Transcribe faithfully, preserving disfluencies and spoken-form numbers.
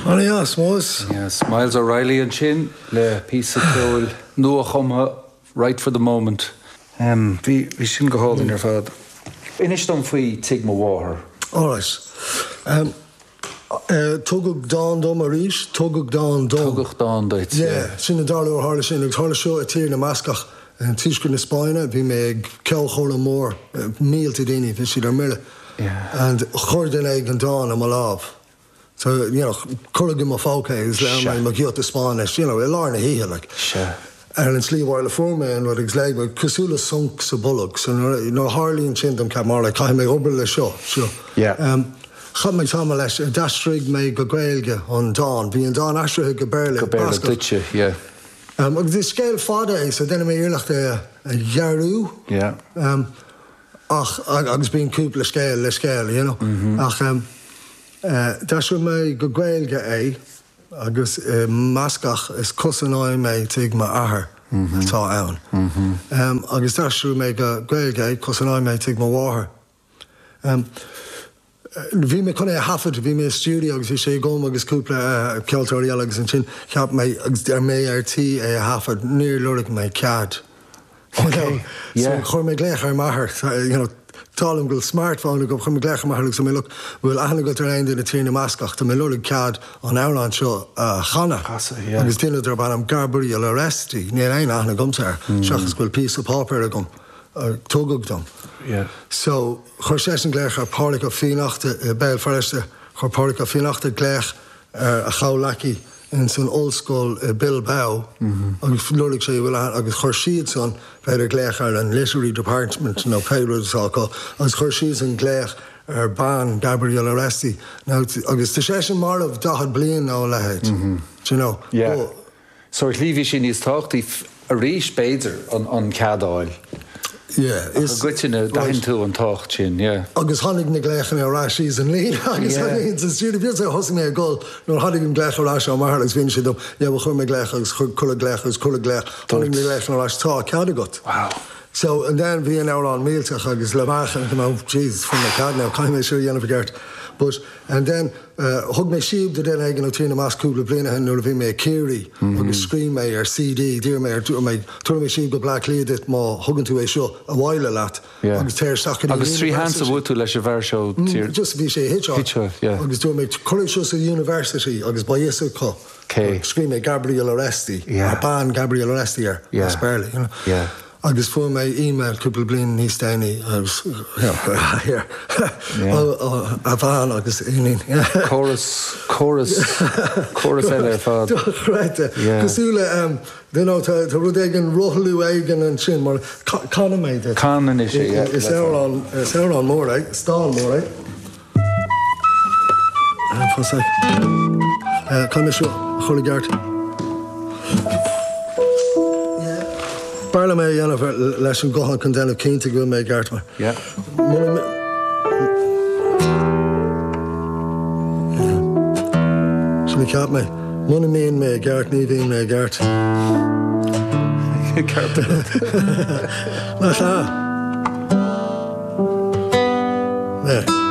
An-deas, Moz. Yes, Myles O'Reilly ansin le píosa ceoil nuachumtha right for the moment. Um, bhí bhí sin go hálainn ar fad. Inis dom faoi Tigh Mo Mháthar. Alright. Um, uh, tugadh dán dom arís, tugadh dán dom. Tugadh dán duit. Yeah, sin an dara huair a tharla sin agus tharla seo i tír na mBascach in tuaisceart na Spáinne, bhí mé ag ceolchoirm mór, mílte daoine, bhí siad ar mire. Yeah. And chuir duine éigin dán i mo lámh. So, you know, cuireadh i mo phóca agus léigh mé mo ghiota Spáinnis, you know, i lár na hoíche, like. Sea. Ar an tslí abhaile fuair mé an rud agus léigh mé cosúil le sonc sa bolg. So nuair nuair a tharlaíonn sin dom ceap mar like, caithfidh mé obair le seo. Seo. Yeah. Um, chaith mé tamall leis, d'aistrigh mé go Gaeilge an dán. Bhí an dán aistrithe go Béarla. Go Béarla Bascach. duitse, yeah. Um, agus is scéal fada é, so déanfaidh mé iarracht é a ghearrú. Yeah. Um, ach agus bíonn cúpla scéal le scéal, you know. Mm -hmm. Ach um, uh, d'aistrigh mé go Gaeilge é agus i mBascach is cosanoidh mé tigh m'athar mm -hmm. atá ann. Mm -hmm. um, agus d'aistrigh mé go Gaeilge é cosanoidh mé tigh mo mháthar. Um, Bhí mé chun é a thaifead, bhí mé i stiúideo agus bhí sé agam agus cúpla ceoltóirí eile agus ansin cheap mé agus ar mé ar tí é a thaifead, níor lorg mé cead. Okay, yeah. So chuir mé glaoch ar m'athair, you know, tá go bhfuil smartphone agam, chuir mé glaoch ar m'athair agus mé look, bhfuil aithne agat ar aon duine i tír na mBascach, tá mé ag lorg cead an amhrán seo a chanadh. Casadh, yeah. Agus duine darb ainm Gabriel Aresti, níl aon aithne agamsa air, seachas go bhfuil píosa páipéir agam a tugadh dom. Yeah. So chuir seisean glaoch ar Pádraig Ó Fiannachta i Béal Feirste, chuir Pádraig Ó Fiannachta glaoch ar a chomhleacaí in san ollscoil i Bilbao agus lorg sé bhfuil agus chuir siadsan b'fhéidir glaoch ar an literary department nó pé rud atá acu agus chuir siadsan glaoch ar bean Gabriel Aresti now agus tá seisean marbh daichead bliain nó a leithéid. Do you know? Yeah. But, So ar shlí bhí sé níos tábhachtaí arís b'fhéidir an, an cead a fháil. yeah, I gcoitinne d'aithin tú an tábhacht sin, yeah. Agus tháinig na glaochanna ar ais síos an líne agus Yeah. tháinig sa stiúideo bhí sé thosaigh mé ag gol nuair a tháinig an glaoch ar ais ó m'athair agus bhí sé dom yeah, well, chuir mé glaoch agus chuir cuireadh glaoch agus cuireadh glaoch tháinig na glaochanna ar ais tá cead agat. Wow. So and then bhí an amhrán millteach agus le meáchan go oh Jesus fuair mé cead now caithfidh mé seo a dhéanamh i gceart. But and then uh, thug mé síob do duine éigin ó Tír na mBasc cúpla bliain ó shin nuair a bhí mé i Ciarraí agus scríobh mé ar CD d'iarr mé ar dúirt mé tabharfaidh mé síob go Bleá Cliath duit má thugann tú é seo abhaile leat Yeah. agus téir isteach go dtí Agus trí university. sheans a bhuail tú leis an bhfear seo tír. Just bhí sé hitseáil. Hitseáil, yeah. Agus dúirt mé cuir seo sa university agus beidh fhios acu. Cé. Scríobh mé Gabriel Aresti, Yeah. ar bean Gabriel Aresti air, Yeah. as Béarla, you know. Yeah. Agus fuair mé email cúpla bliain níos déanaí agus here Yeah. a bhean agus iníon. Córas córas córas eile ar fad. Dochreidte. Yeah. Cosúil le um, you know, tá tá rud éigin rothlú éigin ansin mar canfaidh mé duit. Can anois é, yeah. Is amhrán is amhrán mór é, is dán mór é. Fá Can seo chur i gceart. B'fhearr liom é a dhéanamh leis an guthán chun déanamh cinnte go bhfuil mé i gceart mar. Yeah. Muna mé- Sin a cheap mé. Muna mbíonn mé i gceart ní bhíonn mé i gceart. Ceart. Nach ea? There.